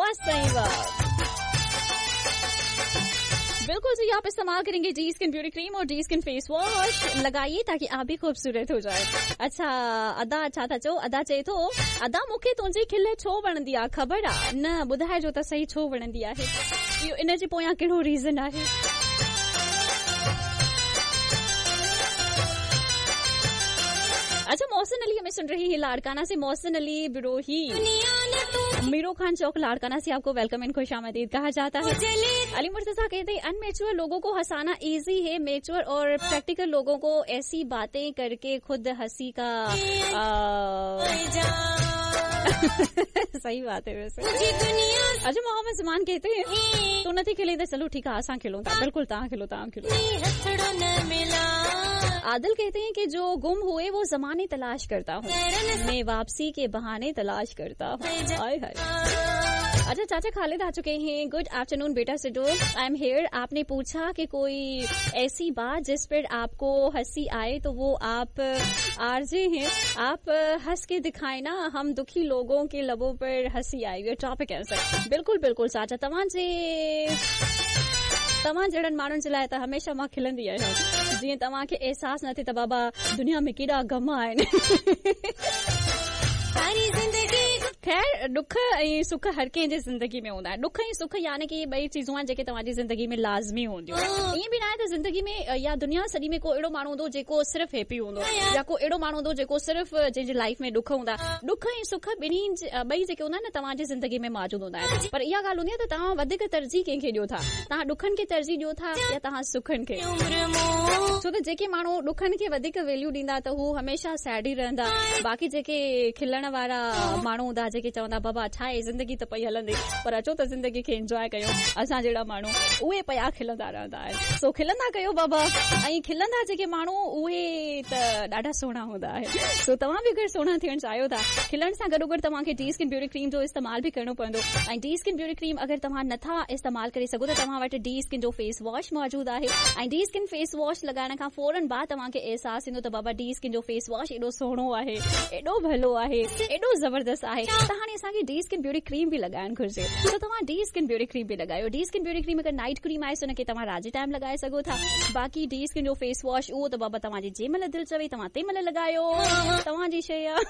वाह सही वाह। बिल्कुल जी, आप इस्तेमाल करेंगे डी स्किन ब्यूटी क्रीम और डी स्किन फेस वॉश लगाइए ताकि आप भी खूबसूरत हो जाए। अच्छा अदा छा था चओ? अदा चए थो अदा मूंखे तुंहिंजी खिल छो वणंदी आहे, ख़बर आहे न? ॿुधाइजो त सही छो वणंदी आहे, इहो इन जे पोयां कहिड़ो रीज़न आहे? अच्छा मोहसिन अली हमें सुन रही है लाड़काना से। मोहसिन अली बिरोही मीरो खान चौक लाड़काना से आपको welcome and खुश आमदीद कहा जाता है। अली मुर्तजा कहते हैं अनमेच्योर लोगों को हंसाना इजी है, मेच्योर और प्रैक्टिकल लोगों को ऐसी बातें करके खुद हंसी का सही बात है वैसे। अच्छा मोहम्मद जमान कहते हैं तो नथी खिले त चलो ठीक आहे असां खिलूं था, बिल्कुल तव्हां खिलो तव्हां खिलो। आदिल कहते हैं कि जो गुम हुए वो जमाने तलाश करता हूँ, मैं वापसी के बहाने तलाश करता हूँ। हाय हाय। अच्छा चाचा खालिद आ चुके हैं। गुड आफ्टरनून बेटा सिडो, I am here. आपने पूछा कि कोई ऐसी बात जिस पर आपको हंसी आए तो वो आप आरजे हैं, आप हंस के दिखाए ना, हम दुखी लोगों के लबों पर हंसी आई। ये टॉपिक है सर। बिल्कुल बिल्कुल चाचा, तव्हां जे तव्हां जहिड़नि माण्हुनि जे लाइ त हमेशह मां खिलंदी आहियां, जीअं तव्हांखे अहसासु न थिए त बाबा दुनिया में केॾा ग़म आहिनि। ख़ैर ॾुख ऐं सुख हर कंहिंजे ज़िंदगी में हूंदा आहिनि। ॾुख ऐं सुख यानी कि ॿई चीज़ूं आहिनि जेके तव्हांजी ज़िंदगी में लाज़मी हूंदियूं। ईअं बि न आहे त ज़िंदगी में या दुनिया सॼी में को अहिड़ो माण्हू हूंदो जेको सिर्फ़ हैप्पी हूंदो या को अहिड़ो माण्हू हूंदो जेको सिर्फ़ जंहिंजी लाइफ में ॾुख हूंदा। ॾुख ऐं सुख ॿिन्ही ॿई जेके हूंदा आहिनि न तव्हांजी ज़िंदगी में मौजूदु हूंदा आहिनि, पर इहा ॻाल्हि हूंदी आहे त तव्हां वधीक तरजीह कंहिंखे ॾियो था, तव्हां ॾुखनि खे तरजीह ॾियो था या तव्हां सुखनि खे? छो त जेके माण्हू ॾुखनि खे वधीक वैल्यू ॾींदा त हू हमेशह सैड ई रहंदा, बाक़ी जेके खिलण वारा माण्हू हूंदा जेके चवंदा बाबा छा आहे ज़िंदगी त पई हलंदी, पर अचो त ज़िंदगी खे इंजॉय कयूं, असां जहिड़ा माण्हू उहे पिया खिलंदा रहंदा आहिनि। सो खिलंदा कयो बाबा, ऐं खिलंदा जेके माण्हू उहे त ॾाढा सुहिणा हूंदा आहिनि। सो तव्हां बि अगरि सुहिणा थियणु चाहियो था, खिलण सां गॾोगॾु तव्हांखे डी स्किन ब्यूटी क्रीम जो इस्तेमालु बि करिणो पवंदो। ऐं डी स्किन ब्यूटी क्रीम अगरि तव्हां नथा इस्तेमालु करे सघो त तव्हां वटि डी स्किन जो फेस वॉश मौजूदु आहे। ऐं डी स्किन फेस वॉश लॻाइण खां फ़ौरन बाद तव्हांखे अहसासु थींदो त बाबा डी स्किन जो फेस वॉश एॾो सुहिणो आहे, एॾो भलो आहे, एॾो ज़बरदस्त आहे, त हाणे असांखे डी स्किन ब्यूटी क्रीम बि लॻाइणु घुरिजे। त तव्हां डी स्किन ब्यूटी क्रीम बि लॻायो। डी स्किन ब्यूटी क्रीम अगरि नाइट क्रीम आहे हुनखे तव्हां राति जे टाइम लॻाए सघो था। बाक़ी डी स्किन जो फेस वॉश उहो त बाबा तव्हांजी जंहिं महिल दिलि चवे तव्हां तंहिं महिल लॻायो, तव्हांजी शइ आहे।